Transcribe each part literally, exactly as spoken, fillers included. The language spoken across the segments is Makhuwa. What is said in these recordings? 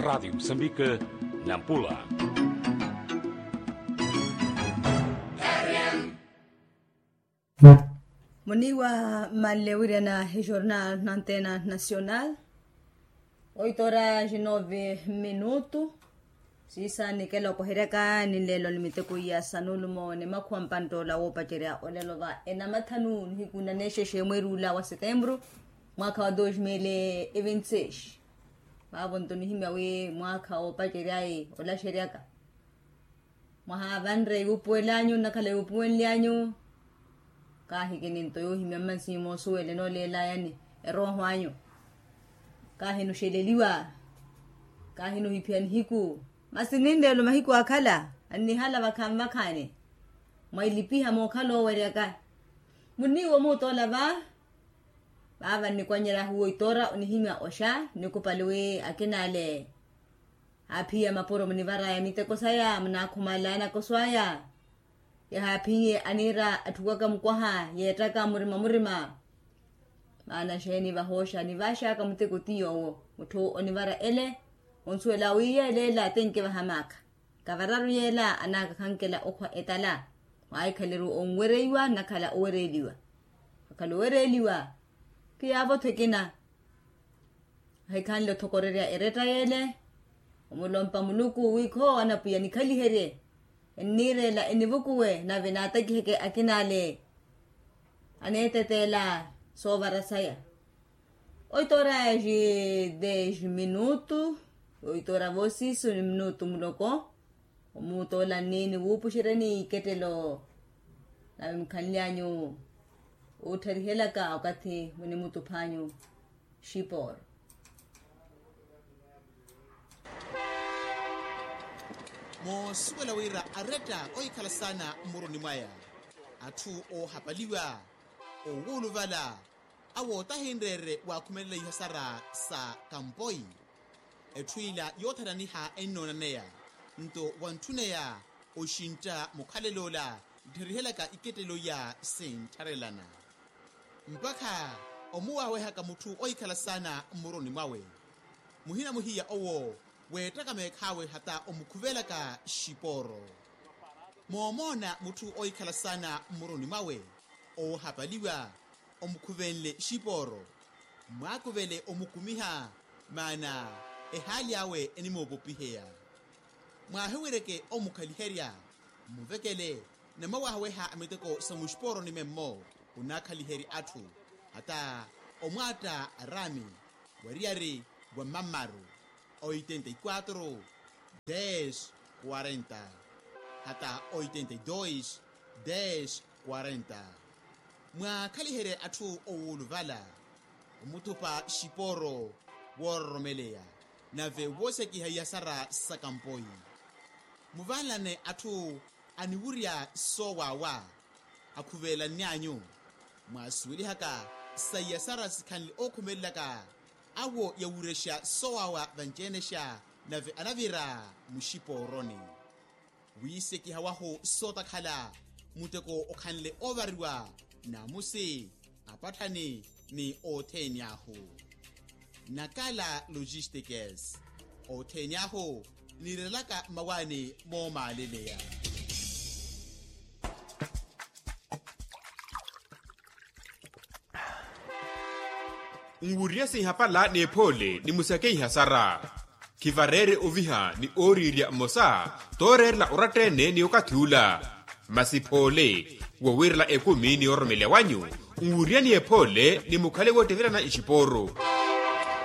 Radiyo musambika, nampula. Muniiwa mmanle wiryana ejornal na antena nacional. Oito horas e nove minutu. Siisa nikela okoheryaka ninleelo ni miteko iya sanulumo ni makhuwa mpanttoola woopacerya olelo va enamathanu nihiku na neexexe mweeri ula wa setempuru, mwaakha wa dos mil e vinte seis. Vaavo nto nihimya wi mwaakha woopacery'ayi olaxeryaka. Mwaha vanre iwupuwel'anyu nnakhala iwupuwenly'anyu. Kaahikini nto yoohimya mmansimu moosuwela enooleel'ayani erooho anyu. Kaahinuxeleliwa. Kaahinuhiphiya nihiku. Masi ninreelo mahiku akhala annihala vakhaani vakhaani. Mwailipiha mookhala ooweryaka. Muniiwa omuutola va. Vaava nnikwannyerya ahuwa oitoora onihimya oxa nnikupali wi akinale. Aaphiya mapuro munivaraya miteko saya munaakhumala anakoso aya. Yahaaphiye aniira atthukwaka mukwaha yeettaka murima murima. Maana xeeni vahooxa nivaxaka muteko ti yoowo. Mutthu onivara ele onsuwela wi yeela ela tenke vahamaakha. Kavararu yeela anaaka khankela okhwa etala. Mwaahikhaleriwa onwereiwa nnakhala owereeliwa. Akhala owereeliwa khiyaavo-tho ekina. Ahikhanle othokorerya eretta yeele. Omulompa muluku wi khoowa na pwiya nikhaliherye. Enniireela enivukuwe nave naatakiheke akinale. Aneeteteela soovara saya. Oito horas e dez minutu. Oito horas voosiisu ni minutu muloko. Omuutola nniini wuupuxeryani ikettelo. Nave mukhanly'anyu wuuttharihelaka okathi munimutuph'anyu. Xipooro. Moosuwela wira aretta ohikhala saana mmuruni mwaya. Atthu oohapaliwa, oowuluvala, awo tahinreerye waakhumelela ihasara sa kampoi. Etthu ila yoothananiha ennoonaneya nto wantthuneya oxintta mukhalel'ola nttheryihelaka ikettelo iya sinttharelana. Mpakha omuwaawehaka mutthu ohikhala saana mmuruni mwawe. Muhina muhiya owo weettaka meekhaawe hata omukhuvelaka xipooro. Moomoona mutthu ohikhala saana mmuruni mwawe oohapaliwa omukhuvenle xipooro. Mwaakuvele omukumiha maana ehaali awe enimoopopiheya. Mwaahiwereke omukhaliherya mmuvekele namawaahaweha miteko sa muxipooroni memmo. Onaakhaliherya atthu hata omwaatta araami wariyari wa mamaru oitenta y quatro, des quarenta hata oitenta y dos, des quarenta. Mwaakhaliherye atthu owuluvala omuthupa xipooro woororomeleya nave woosekiha iyasara sa kampoi. Muvanlane atthu aniwurya soowaawa akhuvelanny'anyu. Mwaasuwelihaka sa iyasara sikhanle ookhumelelaka awo yawurexa soowaawa vanci-enexa nave anavira muxipooroni. Wiisekiha wahu sootakhala muteko okhanle oovariwa naamusi apatthani ni othene ahu. Nakala logistikes othene ahu niirelaka mmawaani moomaaleleya. Nwuriye sinhapala n'ephoole ni musakeiha sara. Khivareere oviha ni ooriirya mmosa tooreerela oratta-ene ni okathi ula. Masi phoole wowiirela ekumi ni ororomeleya wanyu nwuriyani ephoole ni mukhale woottevelana ixipooro.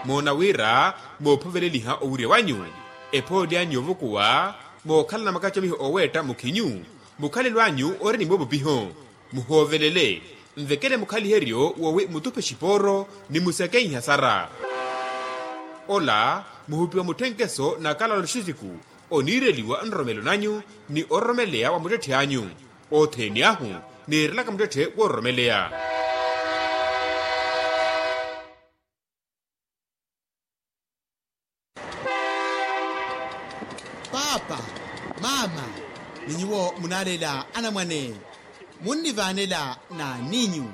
Moona wira moophoveleliha owirya wanyu ephoole anyu yoovukuwa mookhalana makacomiho ooweetta mukhinyu. Mukhalelo anyu ori ni moopopiho muhoovelele nvekele mukhaliheryo woowi mutuphe xipooro ni musakeiha sara. Ola muhupiwa mutthenkeso na kalalo xisiku oniireliwa nroromelo nanyu ni ororomeleya wa muttetthe anyu. Othene ahu niirelaka muttetthe woororomeleya. Paapa, maama, ni nyuwo munaaleela anamwane munnivaanela n'aniinyu?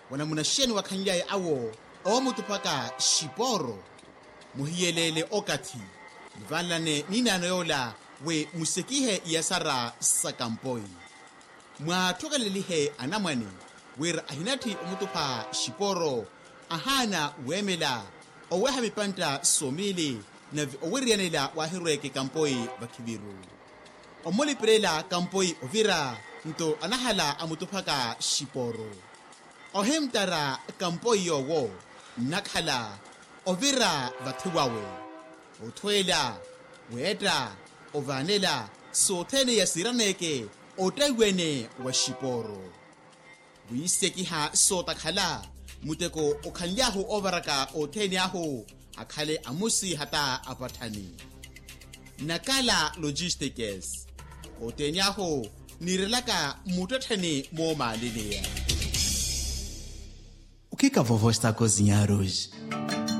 Wanamuna xeeni wakhanly'aya awo oomutuphaka xipooro? Muhiyeleele okathi Vanlane ninaano yoola wi musekihe iyasara sa kampoi. Mwaathokelelihe anamwane wira ahinatthi omutupha xiporo, ahaana weemela oweha mipantta somiili, nave owiriyanela waahirweeke kampoi vakhiviru. Omulipirela kampoi ovira nto anahala amutuphaka xiporo. Ohimttara kampoi yoowo nnakhala ovira vathi wawe, othweela, weetta, ovaanela sothene yasiiraneeke ottaiwene wa xiporo. Wiisekiha sootakhala muteko okhanly'ahu oovaraka othene ahu akhale amusi hata apatthani. Nakala logistikes othene ahu niirelaka muttettheni moomaalini. Okhika vovo estako zinyaruji.